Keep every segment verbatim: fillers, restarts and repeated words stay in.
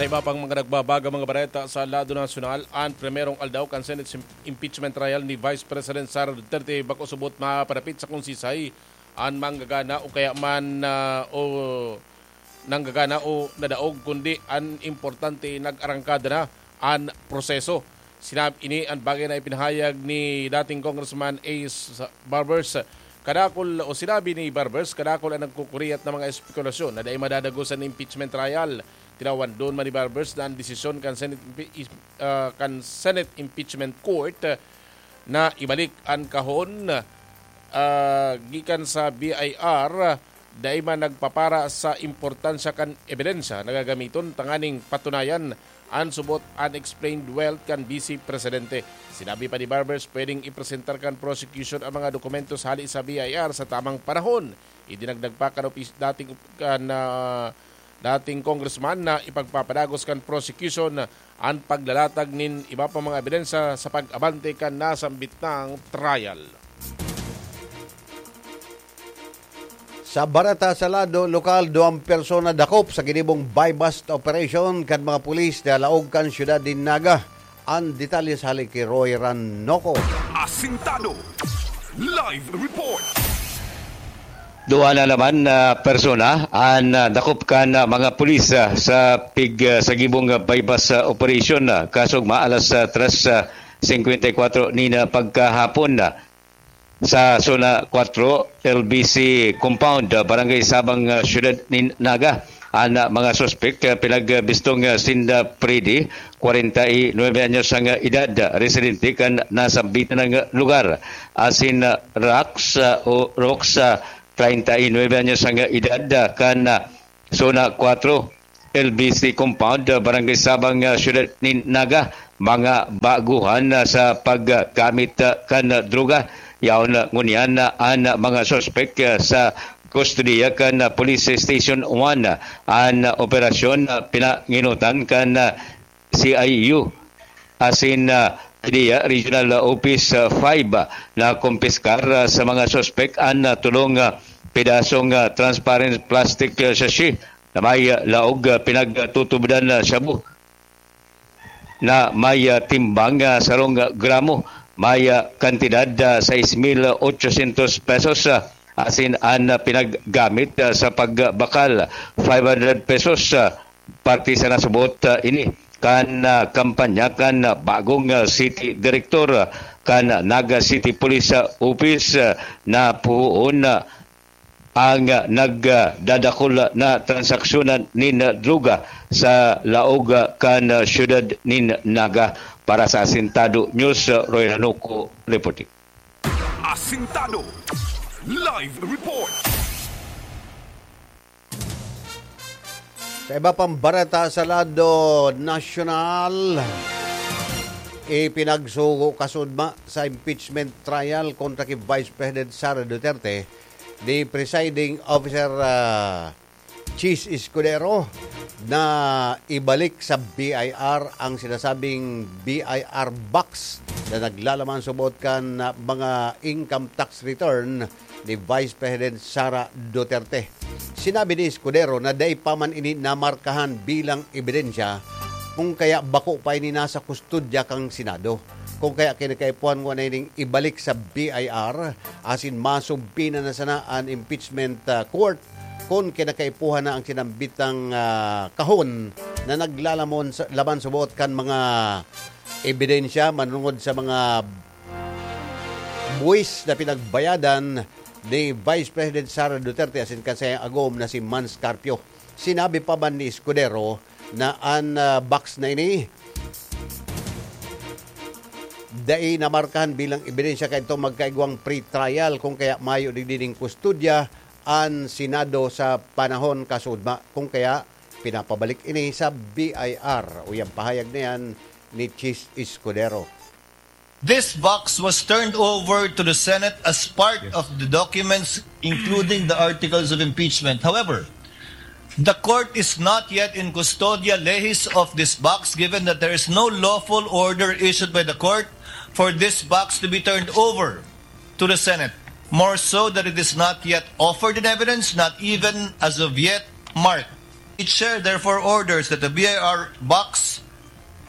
Sa iba pang mga nagbabagang mga bareta sa lado nasyonal, an primerong aldaw kan Senate sim-, impeachment trial ni Vice President Sara Duterte bako subot mapadapit sa konsisay an manggagana o kaya man, ah, o nanggagana o nadaog, kundi an importante, nag-arangkada na an proseso. Sinab-, ini an bagay na ipinahayag ni dating Congressman Ace Barbers. Kadakol o sinabi ni Barbers, kadakol ang nagkukuriyat na mga espekulasyon na dai madadagos an impeachment trial. Tinawandon man ni Barbers na an desisyon kan Senate impi-, is-, ah, kan Senate Impeachment Court, ah, na ibalik an kahon, ah, gikan sa B I R, dai man nagpapara sa importansya kan ebidensya na gagamiton tanganing patunayan an subot unexplained wealth kan Vice Presidente. Sinabi pa ni Barbers, pwedeng ipresentar kan prosecution ang mga dokumentos hali sa B I R sa tamang panahon. Idinagdag pa kan opis-, dating op-, kan, ah, dating congressman na ipagpapadagos kan prosecution an paglalatag nin iba pa mga ebidensya sa pag-abante kan nasambit nang trial. Sa bareta sa lado lokal, duwang persona dakop sa ginibong buy-bust operation kan mga pulis na laog kan siyudad nin Naga. An detalye sa hali ki Roy Ranoco. Asintado. Live report. Duwa na naman na persona an, ah, dakop kan, ah, mga pulis, ah, sa pig-, ah, sa gibong, ah, buy-bust, ah, operation, ah, kasog maalas, ah, tres, ah, singkwenta y kwatro nin, ah, pagkahapon, ah, sa Zona kwatro, L B C Compound, ah, Barangay Sabang, ah, Siyudad nin Naga. An, ah, mga suspek, ah, pinagbistong, ah, sinda Freddy, kwarenta y nuebe anyos ang, ah, edad, ah, residente kan nasambitan ng, ah, lugar. Asin, ah, Rax, ah, o Rox, ah, treinta y nueve anyos ang edad, ah, kan, ah, Zona kwatro, L B C Compound, ah, Barangay Sabang, ah, Siyudad nin Naga, mga baguhan, ah, sa paggamit, ah, kan droga. Yaon, ah, ngunyan, ah, an mga suspek, ah, sa kustodiya kan, ah, Police Station one. An, ah, operasyon, ah, pinanginutan kan, ah, C I U asin, ah, Pidea Regional Office, ah, five, ah, na kumpiskar, ah, sa mga suspek an, ah, tulong, ah, pedasong, ah, transparent plastic, ah, sachet na may, ah, laog, ah, pinagtutubodan na shabu na may, ah, timbang, ah, sarong gramo, may, ah, kantidad, ah, sais mil ochocientos pesos, ah, asin an, ah, pinaggamit, ah, sa pagbakal, five hundred pesos, ah, parte sa nasubot, ah, ini kan, ah, kampanya kan, ah, bagong, ah, city director, ah, kan Naga City Police, ah, Office, ah, na puhoon, ah, ang, ah, nagdadakul na transaksyonan nin, ah, droga sa laog, ah, kan, ah, siyudad nin Naga. Para sa Asintado News, ah, Roy Ranuco reporting. Asintado. Live report. Sa iba pang bareta sa lado nasyonal, ipinagsugo kasudma sa impeachment trial kontra ki Vice President Sara Duterte ni Presiding Officer, ah, Chiz Escudero na ibalik sa B I R ang sinasabing B I R box na naglalaman subot kan, ah, mga income tax return ni Vice President Sara Duterte. Sinabi ni Escudero na dai pa man ini namarkahan bilang ebidensya, kung kaya bako pa ini nasa kustodya kan Senado. Kung kaya kinakaipuhan ngona ining ibalik sa B I R, asin masubpina na sana an impeachment, ah, court, kun kinakaipuhan na ang sinambitang, ah, kahon na naglalamon sa, laman subot kan mga ebidensya manungod sa mga buwis na pinagbayadan ni Vice President Sara Duterte asin kan saiyang agom na si Mans Carpio. Sinabi pa man ni Escudero na an, ah, box na ini dai namarkahan bilang ebidensya kaidto magkaigwang pre-trial, kung kaya mayo digdi nin kustodya an Senado sa panahon kasudma, kung kaya pinapabalik ini sa B I R. Uyang pahayag na yan ni Chiz Escudero. This box was turned over to the Senate as part of the documents, including the articles of impeachment. However, the court is not yet in custodia legis of this box, given that there is no lawful order issued by the court for this box to be turned over to the Senate. More so that it is not yet offered in evidence, not even as of yet marked. Chair therefore orders that the B I R box,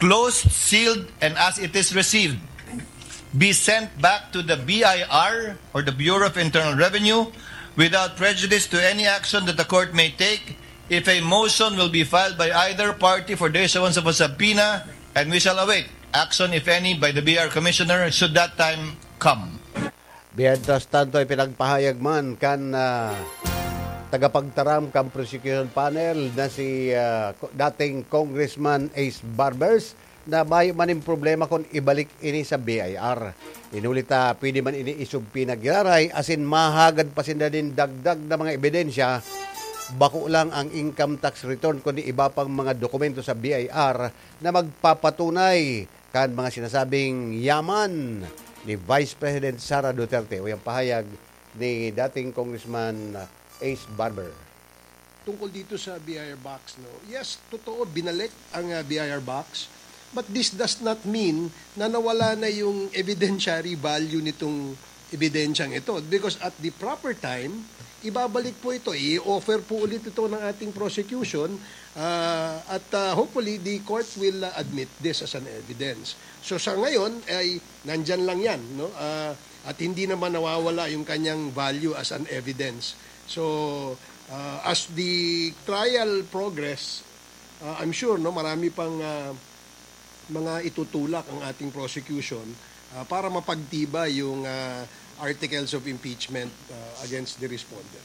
closed, sealed, and as it is received, be sent back to the B I R or the Bureau of Internal Revenue without prejudice to any action that the court may take if a motion will be filed by either party for the issuance of a subpoena, and we shall await action, if any, by the B I R Commissioner should that time come. Mientras tanto, ipinagpahayag man kan ah, tagapagtaram kan prosecution panel na si ah, ko- dating Congressman Ace Barbers na mayo man ning problema kung ibalik ini sa B I R. Inuli ta, pwede man ini isubpoena giraray, asin mahagad pa sinda nin dagdag na mga ebidensya, bako lang ang income tax return kundi iba pang mga dokumento sa B I R na magpapatunay kan mga sinasabing yaman ni Vice President Sara Duterte o yang pahayag ni dating Congressman Ace Barber. Tungkol dito sa B I R box, no? Yes, totoo, binalik ang ah, B I R box. But this does not mean na nawala na yung evidentiary value nitong ebidensyang ito. Because at the proper time, ibabalik po ito, i-offer po ulit ito ng ating prosecution ah, at ah, hopefully the court will ah, admit this as an evidence. So sa ngayon ay nandyan lang yan, no? Ah, at hindi naman nawawala yung kanyang value as an evidence. So uh, as the trial progress, uh, I'm sure, no, marami pang uh, mga itutulak ang ating prosecution uh, para mapagtibay yung uh, articles of impeachment uh, against the respondent.